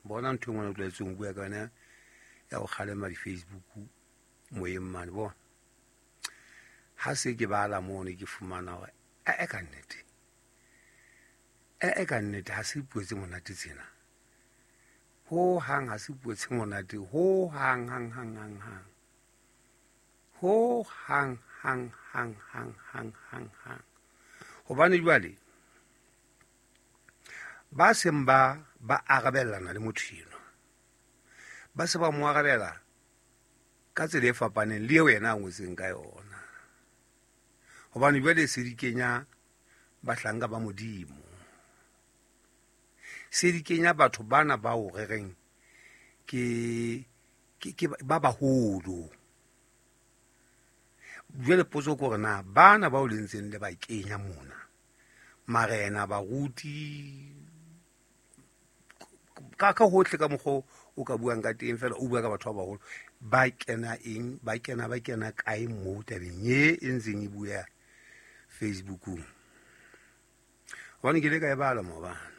Bona ntho e ngwana o tlwaetseng ho bua ka yona ya go kgalema di-Facebook moyeng mane. Bona ha se ke bala mono ke fumana hore ee ka nnete, ee ka nnete, ha se puo tse monate tsena ho hang, ha se puo tse monate ho hang, hang, hang, hang, hang, ho hang, hang, hang, hang, hang, hang, hang. Hobane jwale ba seng ba arabellana le motho enwa, ba se ba mo arabela ka tsela e fapaneng le eo yena a ngotseng ka yona. Hobane jwale se di kenya bahlanka ba Modimo, se di kenya batho bana bao re reng ke ba baholo. Jwale potso ke hore na bana bao le ntseng le ba kenya mona, marena, baruti, ka hohle ka mokgwa o ka buang ka teng fela, o bua ka batho ba baholo, ba kena eng, ba kena kae moo tabeng e e ntseng e bua Facebookong? Hobane ke ile ka e bala maobane,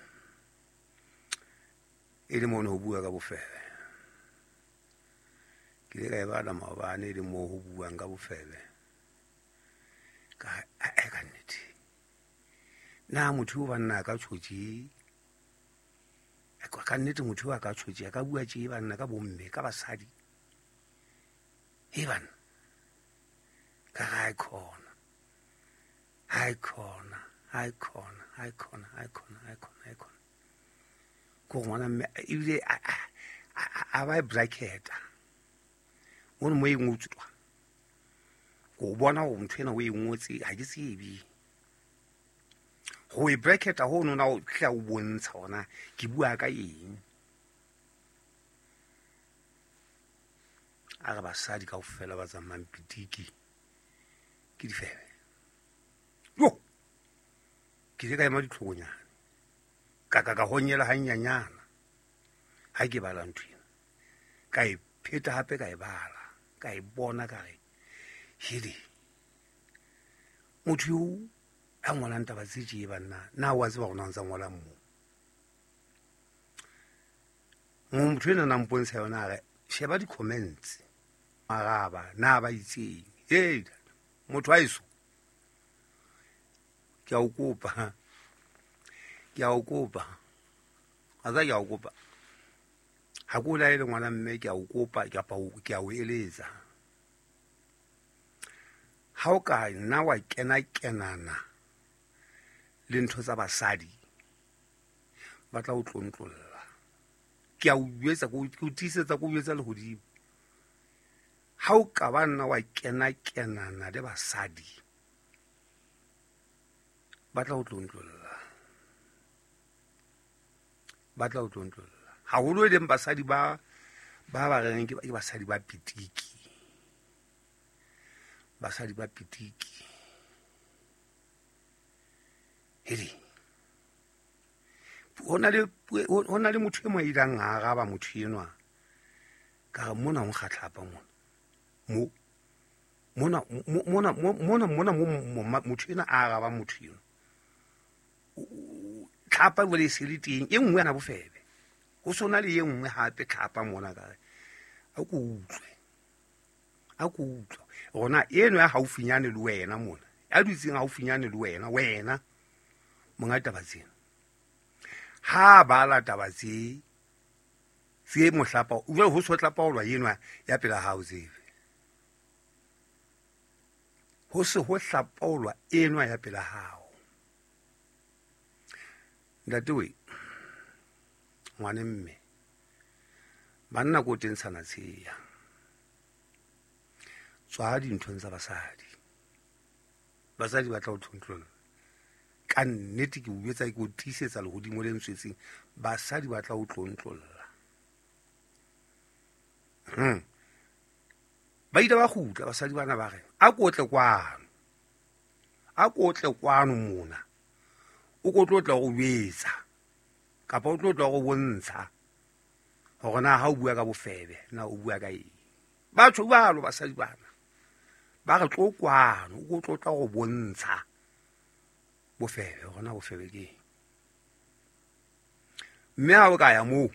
e le mono ho bua ka bofebe. Ke ile ka e bala maobane, e le moo ho buang ka bofebe. Ka e ka nnete, na motho o banna a ka tshotse ka nnete? Motho a ka tshotse, a ka bua tje banna ka bomme, ka basadi e banna? Ka ga e khona, ha e khona, ha e khona, ha e khona, ha e khona, ha e khona, ha e khona. Ko ngwana mme ebile a ba e bracketa mono mo e ngotswa, ko bona hore motho ena o e ngotse, ha ke tsebe ho e bracketa ho nona o tla o bontsha hore na ke bua ka eng. A re basadi kaofela ba tsamayang pitiki ke difebe. Yo, ke ile ka ema ditlhokonyane, ka honyela hanyanyana ha ke bala ntho ena. Ka e pheta hape, ka e bala, ka e bona, ka re hele, motho eo a ngolang taba tse tje banna, na wa tseba hore na o ntsa ngolang moo? Motho ena na mpontsha yona, a re sheba di-comments, araba na ba itseng. Hey, motho a eso, ke a o kopa, ke a o kopa, a tsa ke a o kopa, ha ke o laele ngwana mme, ke a o kopa, kapa ke a o eletsa, ha o ka nna wa kena kenana le ntho tsa basadi, ba tla o tlontlolla. Ke a o jwetsa, ke o tiisetsa, ke o jwetsa lehodimo, ha o ka ba nna wa kena kenana le basadi, ba tla o tlontlolla, ba tla o tlontlolla, haholo e leng basadi ba reng ke basadi ba pitiki, basadi ba pitiki. Hele, ho na le motho e mo a ileng a araba motho enwa. Ka re mona ho nkgatlhapa mona mo mona mona mona mona mo motho ena a araba motho eno, tlhapa jwale e se le teng e nngwe yana bofebe, ho sona le e nngwe hape tlhapa mona. Ka re a ko utlwe, a ko utlwe rona eno ya haufinyane le wena mona, ya dutseng haufinyane le wena, wena monga taba tsena, ha bala taba tse mohlapa jwale ho so hlapaolwa eno ya pela hao, tsebe ho se ho hlapaolwa enwa ya pela hao. Ntate we, ngwane mme, banna ko tentshana tsheya, tswa dinthong tsa basadi, basadi ba tla o tlontlolla. Ka nnete ke o jwetsa, ke o tiisetsa lehodimo le ntswetseng, basadi ba tla o tlontlolla. Ba ile ba kgutla basadi bana, ba re a ko tle kwano, a ko tle kwano mona, o ko tlo tla go jwetsa, kapa o tlo tla go bontsha hore na ha o bua ka bofebe na o bua ka eng. Batho jwalo, basadi bana ba re tlo kwano, o ko tlo tla go bontsha bofebe, hore na bofebe ke eng. Mme ha o ka ya moo